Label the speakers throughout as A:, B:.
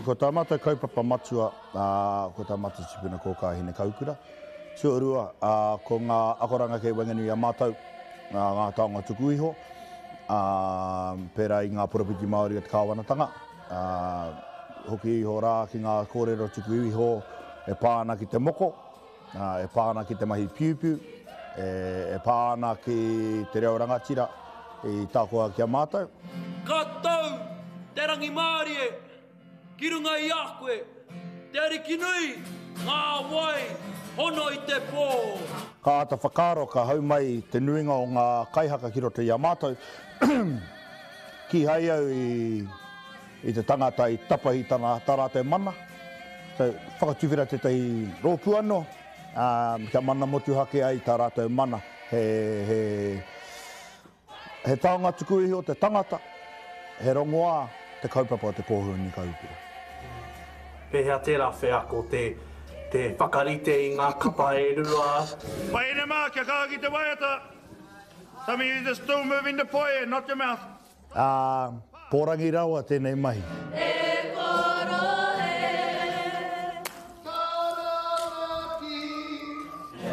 A: Ko tā mātou kaupapa matua, ā, ko tā mātou tipuna kōkā Hinekaukura. Tuarua, ā, ko ngā akoranga kei waenganui i a mātou, ā, ngā taonga tuku iho, ā, pērā i ngā poropiti Māori o te kāwanatanga, ā, hoki iho rā ki ngā kōrero tuku iho e pā ana ki te moko, ā, e pā ana ki te mahi piupiu, e, e pā ana ki te reo rangatira i takoha ki a mātou.
B: Ka tau te rangimārie ki runga i a koe, te Ariki nui, ngā wai hono i te pō.
A: Ka āta whakaaro ka hau mai te nuinga o ngā kaihaka ki roto i a mātou, kīhai au i i te tangata i tapahi tana, tā rātou mana. So, whakatuwhera tētahi rōpū anō, ā, kia mana motuhake ai tā rātou mana. He, he, he taonga tuku iho te tangata, he rongoā te kaupapa o te kōhua Kaukura.
C: Pēhea tērā wheako te, te whakarite i ngā kapa e rua?
D: Wahine mā, kia kaha ki te waiata! Some of you are still moving the poi and not your mouth.
A: Ā, pōrangi rawa tēnei mahi.
E: E koro e.
D: Taranaki,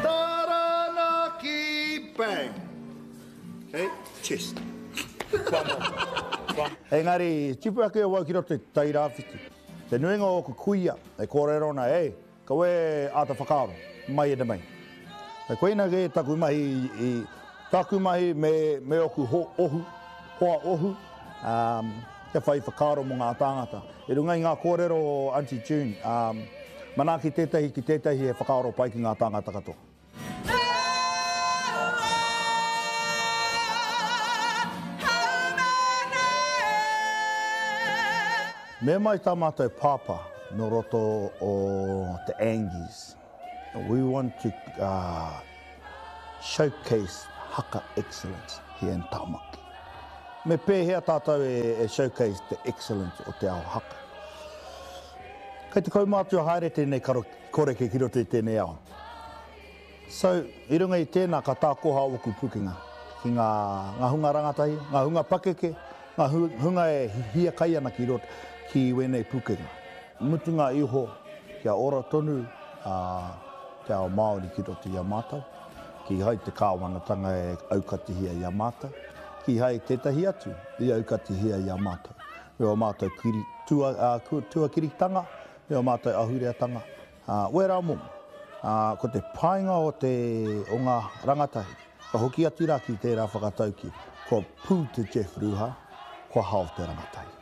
D: Taranaki, bang. Okay, chest. One more.
A: One. Engari, tipu ake awau ki roto i te Tairāwhiti. Te nuinga o ōku kuia e kōrero ana, Ei, Kaua e āta whakaaro, mai ena mai. Koina kē taku mahi i, tāku mahi me, me ōku ho, ohu, hoa ohu, ā, kia whai whakaaro mō ngā tāngata. I runga i ngā kōrero o Aunty June, ā, manaaki tētahi ki tētahi he whakaaro pai ki ngā tāngata katoa. Me mai tā mātou pāpā nō roto o te Angies. We want to showcase haka excellence here in Tamaki. Me pēhea tātou e showcase te excellence o te ao haka? Kei te kaumātua haere tēnei koreke ki roto i tēnei ao. So, i runga i tēnā ka tākoha ōku pukenga ki ngā, ngā hunga rangatahi, ngā hunga pakeke, ngā hunga e hiakai ana ki roto, ki wēnei pukenga. Mutunga iho, kia ora tonu a te ao Māori ki roto i a mātou, kīhai te kāwanatanga e aukatihia i a mātou, kīhai tētahi atu i aukatihia i a mātou. Me ō mātou kiri, tua, tuakiritanga, me ō mātou ahureatanga, Ā, wērā momo. Ā, ko te painga o te, o ngā rangatahi, ka hoki atu rā ki tērā whakataukī, kua pū te Jeff Ruha, kua hao te rangatahi.